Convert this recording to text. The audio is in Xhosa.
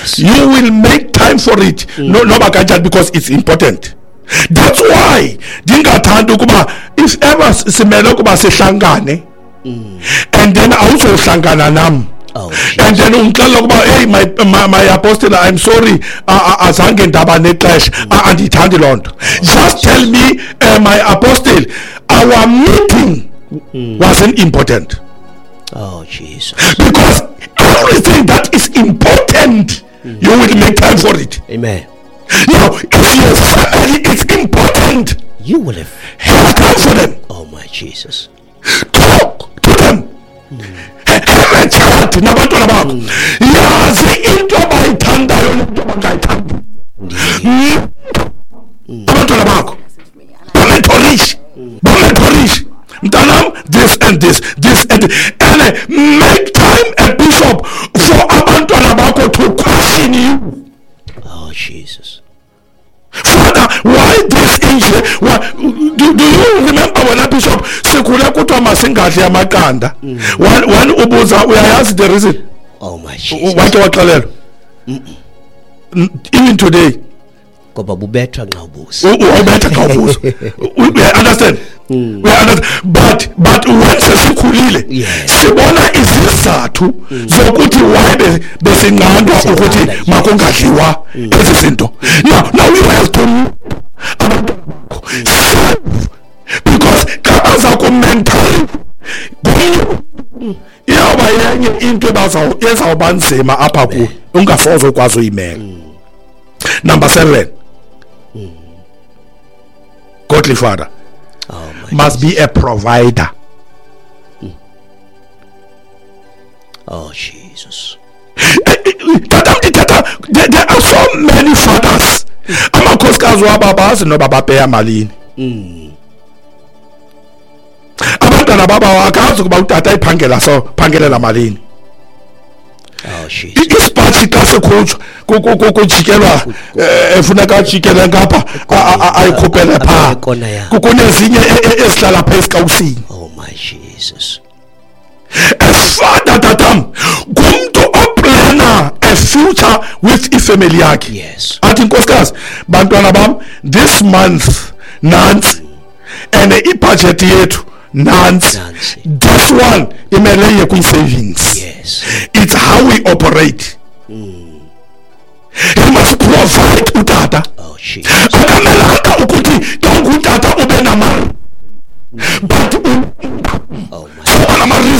Yes. You will make time for it. No, noba kanjani, because it's important. That's why ndingathandi ukuba if ever simele ukuba sihlangane and then awuzohlangana nam. Oh, And then ungixelela ukuba, "Hey, my apostle, I'm sorry, azange ndaba nexesha." Andiyithandi loo nto. Just tell me, "My apostle, our meeting wasn't important." Oh, Jesus. Because everything that is important, you will make time for it. Amen. Now, if your family is important, you will have have time for them. Oh, my Jesus. Talk to them. Have a chat nabantwana bakho. Yazi into abayithandayo nento abangayithandi. Abantwana bakho. Bamentorishe. Bamentorishe. Mntanam, this and this, this and this. And make time, a bishop, for abantwana bakho to question you. Oh, Jesus. Father, why this injury? Why, do you remember when a bishop sikhule kuthiwa masingadli amaqanda? One ubuza, uyayazi the reason? Oh, my Jesus. Wake waxelelwa. Even today. Ngoba bubethwa nxa ubuza. Ubetha xa ubuza. We understand. We understand. But when sesikhulile, sibona izizathu zokuthi why besinqandwa ukuthi makungadliwa ezi zinto. Now you have to abantwana bakho serve, because xa baza ku-mental iyawuba yenye into ezawuba nzima apha kuwe, ungasoze ukwazi uyimela. Number 7, godly father Oh, must be a provider. Oh, Jesus. Tata, there are so many fathers. Amakhosikazi wabo abazi noba bapeya malini. Abantwana baba akazi ukuba utata iphangela so phangelela malini. Oh, Jesus. Isipathi xa sikhutshwa kujikelwa, efuneka ajikele ngapha, ayikhuphele phaa. Ikona yakho. Kunezinye ezihlala phaa esikawusini. Oh, my Jesus. A father, tatam, ngumntu oplana a future with ifamily yakhe. Athi, "Nkosikazi, bantwana bam, this month nantsi and ibudget yethu nantsi. Nantsi. This one imele iye kwi-savings." It's how we operate. He must provide utata. Oh, Jesus. Akamelanga ukuthi xa ungutata ube namali, but Oh, my. nama-reason.